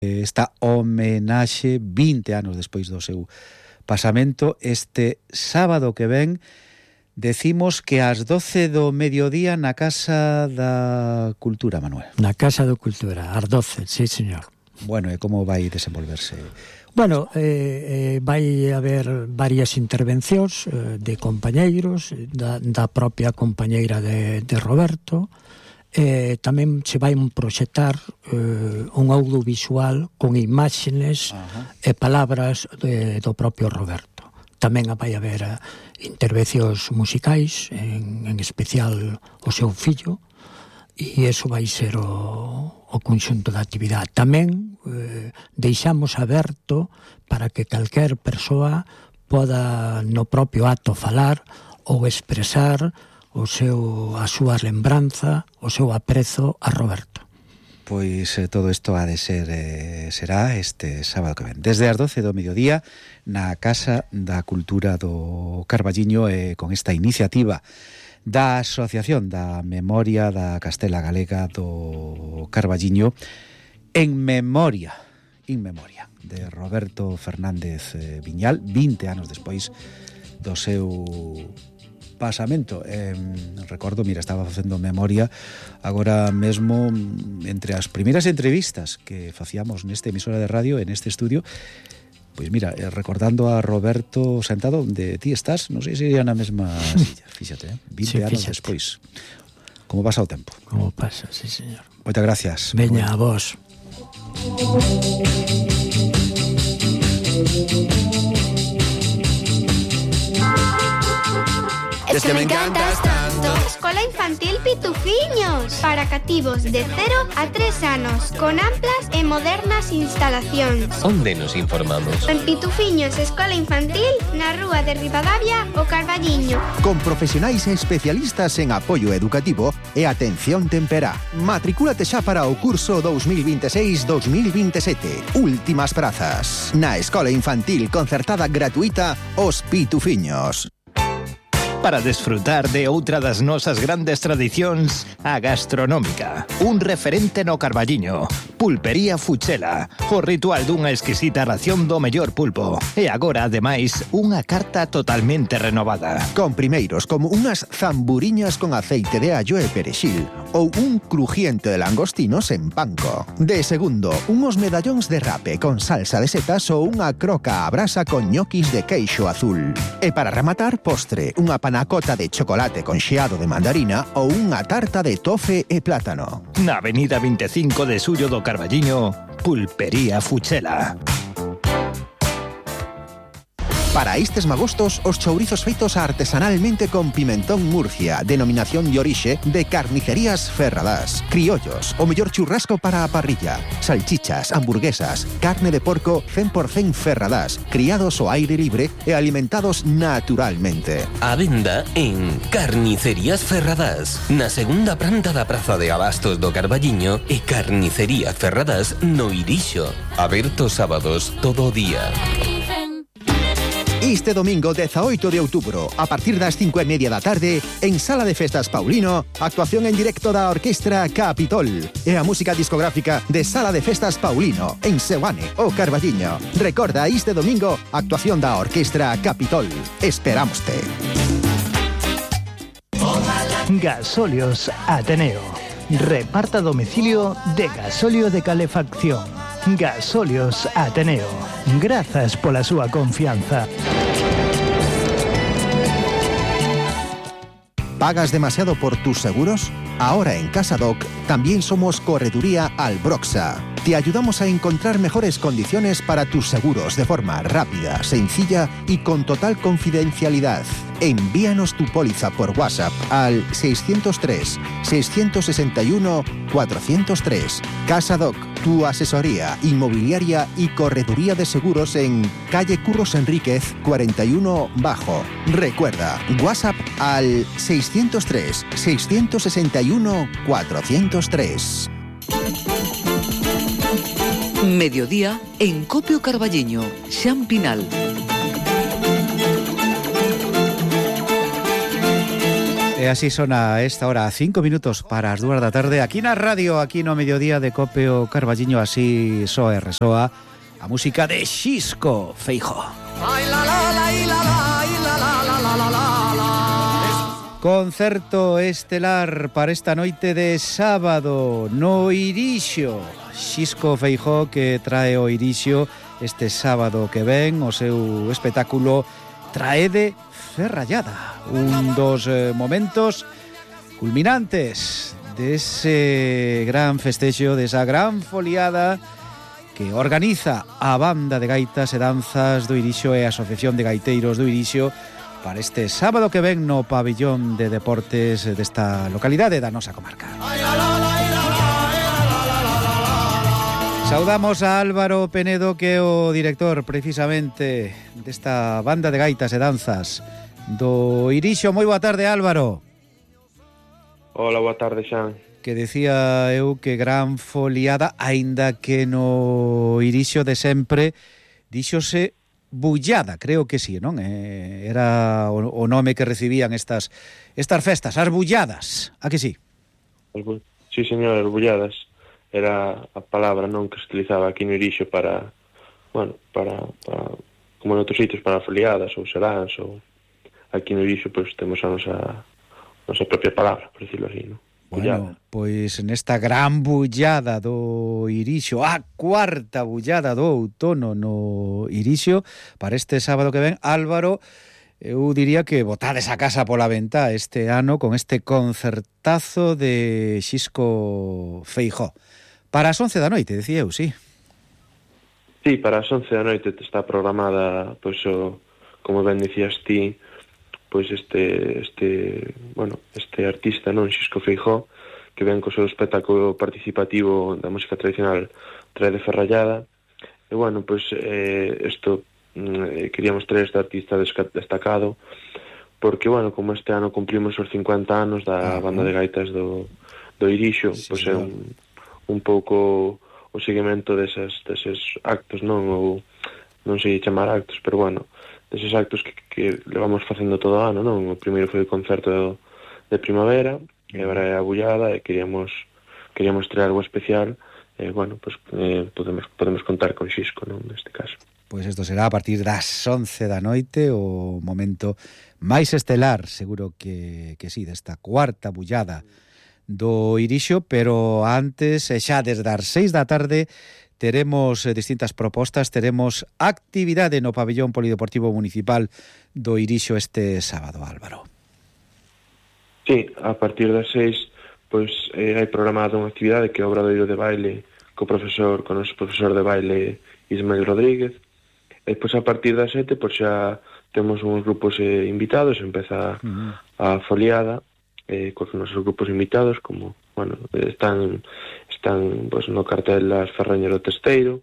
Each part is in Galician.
esta homenaxe 20 anos despois do seu pasamento. Este sábado que ven decimos que ás 12 do mediodía na Casa da Cultura, Manuel. Na Casa da Cultura, ás 12, sí, señor. Bueno, e como vai desenvolverse? Bueno, vai haber varias intervencións de compañeiros, da propia compañeira de Roberto. Tamén se vai proxectar un audiovisual con imágenes e palabras do propio Roberto. Tamén vai haber intervencións musicais, en especial o seu fillo, e iso vai ser o conxunto da actividade. Tamén deixamos aberto para que calquer persoa poda no propio acto falar ou expresar a súa lembranza, o seu aprezo a Roberto. Pois todo isto ha de ser será este sábado que ven, desde as 12 do mediodía na Casa da Cultura do Carballiño, con esta iniciativa da Asociación da Memoria da Castela Galega do Carballiño, in memoria de Roberto Fernández Viñal, 20 anos despois do seu pasamento. Recordo, mira, estaba facendo memoria agora mesmo entre as primeiras entrevistas que facíamos nesta emisora de radio, en este estudio. Pois mira, recordando a Roberto sentado onde ti estás, non sei se iría na mesma silla, fíxate, 20 anos despois. Como pasa o tempo? Como pasa, sí, señor. Moitas gracias. Veña, a vos. Es que me encantas tanto. Escola Infantil Pitufiños, para cativos de 0 a 3 anos, con amplas e modernas instalacións. Onde nos informamos? En Pitufiños Escola Infantil, na rúa de Ribadavia, o Carballiño. Con profesionais e especialistas en apoio educativo e atención temperá. Matricúlate xa para o curso 2026-2027. Últimas prazas. Na Escola Infantil Concertada Gratuita, Os Pitufiños. Para desfrutar de outra das nosas grandes tradicións, a gastronómica. Un referente no Carballiño. Pulpería Fuchela. O ritual dunha exquisita ración do mellor pulpo. E agora, ademais, unha carta totalmente renovada. Con primeiros como unhas zamburiñas con aceite de allo e perexil ou un crujiente de langostinos en panko. De segundo, unos medallóns de rape con salsa de setas ou unha croca a brasa con ñoquis de queixo azul. E para rematar, postre, unha panacota de chocolate con xeado de mandarina ou unha tarta de tofe e plátano. Na avenida 25 de Xullo do Carballiño, Pulpería Fuchela. Para estes magostos, os chourizos feitos artesanalmente con pimentón Murcia, denominación de orixe de Carnicerías Ferradás. Criollos, o mellor churrasco para a parrilla. Salchichas, hamburguesas, carne de porco 100% Ferradás, criados ao aire libre e alimentados naturalmente. A venda en Carnicerías Ferradás, na segunda planta da Praza de Abastos do Carballiño e Carnicería Ferradás no Irixo. Abertos sábados todo o día. Este domingo 18 de outubro, a partir das 5:30 da tarde, en Sala de Festas Paulino, actuación en directo da Orquestra Capitol e a música discográfica de Sala de Festas Paulino, en Seoane, o Carballiño. Recorda, este domingo, actuación da Orquestra Capitol. Esperámoste. Gasóleos Ateneo. Reparta a domicilio de gasóleo de calefacción. Gasóleos Ateneo. Grazas pola súa confianza. ¿Pagas demasiado por tus seguros? Ahora en Casadoc también somos Correduría Albroxa. Te ayudamos a encontrar mejores condiciones para tus seguros de forma rápida, sencilla y con total confidencialidad. Envíanos tu póliza por WhatsApp al 603-661-403. Casadoc, tu asesoría inmobiliaria y correduría de seguros en calle Curros Enríquez 41 Bajo. Recuerda, WhatsApp al 603-661-403. Mediodía en Copio Carballiño, Xan Pinal. E así sona a esta hora, 5 minutos para as 2 da tarde, aquí na radio, aquí no mediodía de Copio Carballiño, así soa e resoa a música de Xisco Feijóo. Concerto estelar para esta noite de sábado no Irixo. Xisco Feijóo que trae o Irixo este sábado que ven o seu espectáculo Traede Ferrallada, un dos momentos culminantes dese gran festexo, desa gran foliada que organiza a Banda de Gaitas e Danzas do Irixo e a Asociación de Gaiteiros do Irixo para este sábado que ven no pabillón de deportes desta localidade da nosa comarca. Saudamos a Álvaro Penedo, que é o director precisamente desta Banda de Gaitas e Danzas do Irixo. Moi boa tarde, Álvaro. Hola, boa tarde, Xan. Que decía eu que gran foliada, aínda que no Irixo de sempre díxose bullada, creo que sí, non? Era o nome que recibían estas festas, as bulladas, a que sí? Sí, señor, as bulladas. Era a palabra non que se utilizaba aquí no Irixo para, bueno, para como en outros sitios, para foliadas ou seráns, ou aquí no Irixo pois temos a nosa propia palabra, por decirlo así, non? Bueno, pois nesta gran bullada do Irixo, a cuarta bullada do outono no Irixo, para este sábado que ven, Álvaro, eu diría que botades a casa pola ventá este ano con este concertazo de Xisco Feijóo. Para as 11 da noite, decía eu, sí. Sí, para as 11 da noite está programada, pois, como ben dicías ti, pois este artista, non, Xisco Feijóo, que ven co seu espectáculo participativo da música tradicional Traede Ferrallada. E, bueno, pois, queríamos traer este artista destacado, porque, bueno, como este ano cumplimos os 50 anos da Banda de Gaitas do Irixo, sí, pois é un pouco o seguimento deses actos, non? Ou non sei chamar actos, pero, bueno, deses actos que levamos facendo todo o ano, non? O primeiro foi o concerto de primavera, e agora é a bullada, e queríamos traer algo especial, e, bueno, pues, podemos contar con Xisco, non? Neste caso. Pois isto será a partir das 11 da noite, o momento máis estelar, seguro que sí, desta cuarta bullada do Irixo, pero antes, xa desde as 6 da tarde, teremos distintas propostas, teremos actividade no pabillón polideportivo municipal do Irixo este sábado, Álvaro. Sí, a partir das 6, pois hai programada unha actividade que é o obradoiro de baile co noso profesor de baile Ismael Rodríguez. E pois a partir das 7, pois xa temos uns grupos invitados, empeza a foliada, cos nosos grupos invitados, como, bueno, están pois, no cartel as Ferrañas do Testeiro,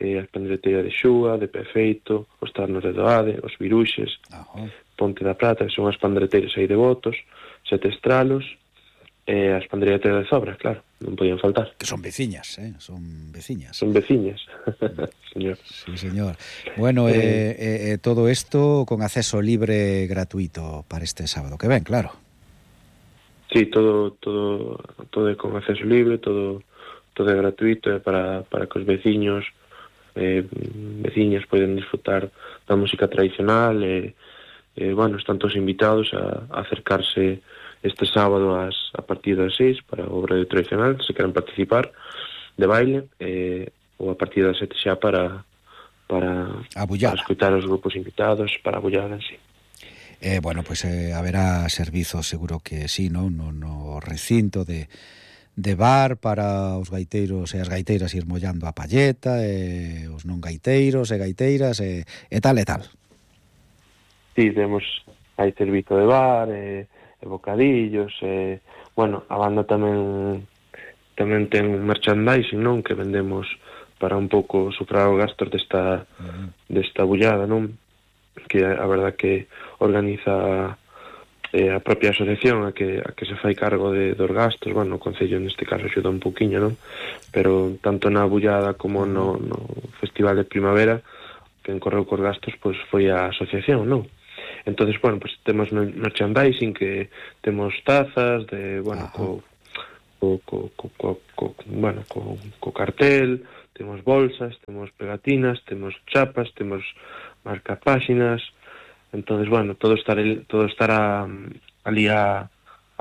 as Pandreteiras de Xúa, de Pefeito, os Tarnos de Doade, os Viruxes, Ponte da Prata, que son as pandreteiras aí de Botos, Sete Estralos, e as pandreteiras de Zobra, claro, non podían faltar. Que son veciñas, son veciñas. Son veciñas, señor. Sí, señor. Bueno, todo isto con acceso libre e gratuito para este sábado que ven, claro. Sí, todo é con acceso libre, todo é gratuito, para que os veciñas poden disfrutar da música tradicional, bueno, están todos invitados a acercarse este sábado a partir das 6 para o obradoiro tradicional, se queren participar de baile, ou a partir das 7 xa para escutar os grupos invitados, para a bullada, sí. Bueno, pois haberá servizos, seguro que sí, no recinto de bar para os gaiteiros e as gaiteiras ir mollando a palleta, os non gaiteiros e gaiteiras e tal e tal. Sí, hai servizo de bar e bocadillos, bueno, a banda tamén ten merchandising, non? Que vendemos para un pouco sufrar os gastos desta bullada, non? Que a verdad que organiza a propia asociación a que se fai cargo dos gastos. Bueno, o Concello neste caso axuda un pouquiño, non? Pero tanto na bullada como no Festival de Primavera, que encorreu cos gastos, pois foi a asociación, non? Entonces, bueno, pues temos merchandising, que temos tazas de, bueno, co cartel, temos bolsas, temos pegatinas, temos chapas, temos marcapáxinas. Entonces, bueno, todo estará ali a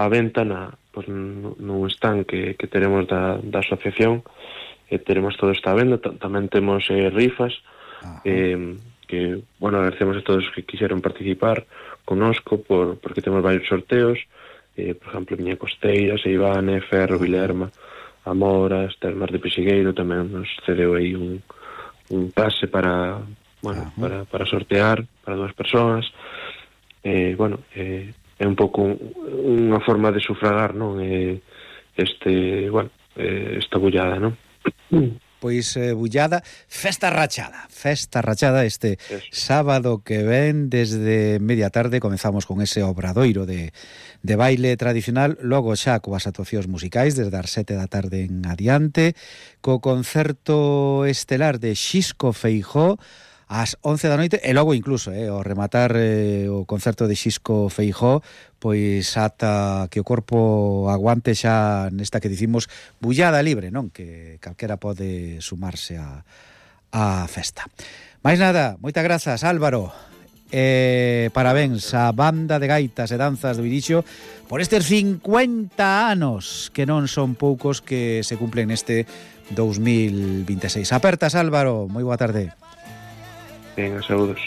venta nun stand que teremos da asociación. Teremos todo esta venda, tamén temos rifas, que, bueno, agradecemos a todos que quixeron participar connosco, porque temos varios sorteos, por exemplo, Miña Costeira, Seivane, Ferro, Vilerma, Amoras, Termas de Pexigueiro, tamén nos cedeu aí un pase para sortear para 2 persoas. Bueno, é un pouco unha forma de sufragar, non? Esta bullada, non? Pois bullada, festa rachada este sábado que ven desde media tarde. Comezamos con ese obradoiro de baile tradicional, logo xa coas actuacións musicais desde as 7 da tarde en adiante, co concerto estelar de Xisco Feijó ás 11 da noite, e logo incluso ao rematar o concerto de Xisco Feijó, pois ata que o corpo aguante xa nesta que dicimos bullada libre, non? Que calquera pode sumarse á festa. Mais nada, moitas grazas, Álvaro. Parabéns á banda de gaitas e danzas do Irixo por estes 50 anos, que non son poucos, que se cumplen neste 2026. Apertas, Álvaro, moi boa tarde. Venga, saludos.